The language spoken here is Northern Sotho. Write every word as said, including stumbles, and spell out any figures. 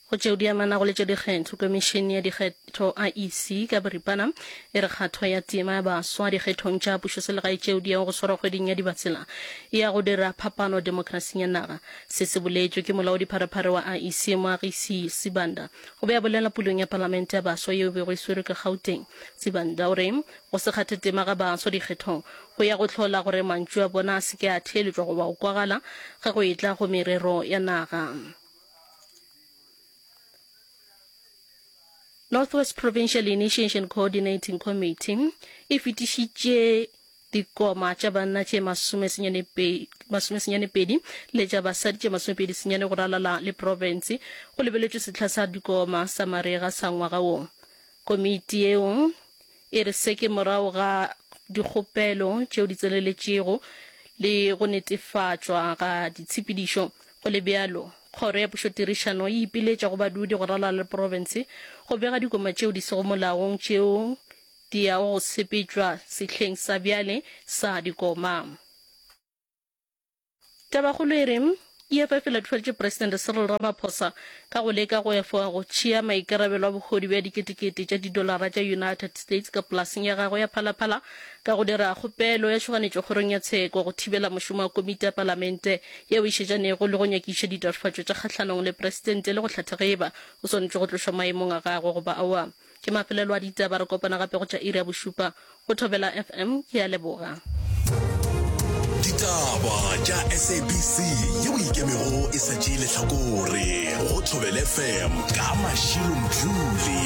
Go tšeo di amanago le tša dikgetho, Komišene ya Dikgetho, IEC, ka boripana e re kgatho ya tema ya baswa dikgethong tša pušoselegae tšeo di yago go swarwa kgweding ya Dibatsela e ya go dira phapano demokrasing ya naga. Se se boletšwe ke molaodipharephare wa IEC Moagisi Sibanda. O be a bolela pulong ya palamente ya baswa yeo e bego e swerwe ka Gauteng. Sibanda o re go se kgathe tema ga baswa dikgethong go ya go hlola gore mantšu a bona a se ke a theeletšwa goba go kwagala ge go etla go merero ya naga. North West Provincial Initiation Coordinating Committee e fetišitše dikoma tša banna tše masomesenyane pedi le tša basadi tše masomepedi senyane go ralala le profense go lebeletšwe sehla sa dikoma sa marega sa ngwaga wo. Komiti yeo E re se ke morago ga dikgopelo tšeo di tseneletšego le go netefatšwa ga ditshepedišo. Go le bjalo, Kgoro ya Pušotirišano e ipiletša go badudi go ralala le profense go bega dikoma tšeo di sego molaong tšeo di yago go sepetšwa sehleng sa bjale sa dikoma. Tabakgolo e re, EFF e latofatšitše Presidente Cyril Ramaphosa ka go leka go efoga go tšea maikarabelo a bohodu bja diketekete tša didolara tša United States ka polaseng ya gagwe ya Phalaphala ka go dira kgopelo ya tšhoganetšo kgorong ya tsheko go thibela mošomo wa komiti ya palamente yeo e šetšanego le go nyakiša ditatofatšo tša kgahlanong le presidente le go hlatha ge eba o swanetše go tlošwa maemong a gagwe goba aowa. Ke mafelelo a ditaba, re kopana gape go tša iri ya bošupa go Thobela FM. Ke a leboga. Ditaba tša SABC yeo e ikemego e sa tšee lehlakore go Thobela FM ka Mashilo Mdluli.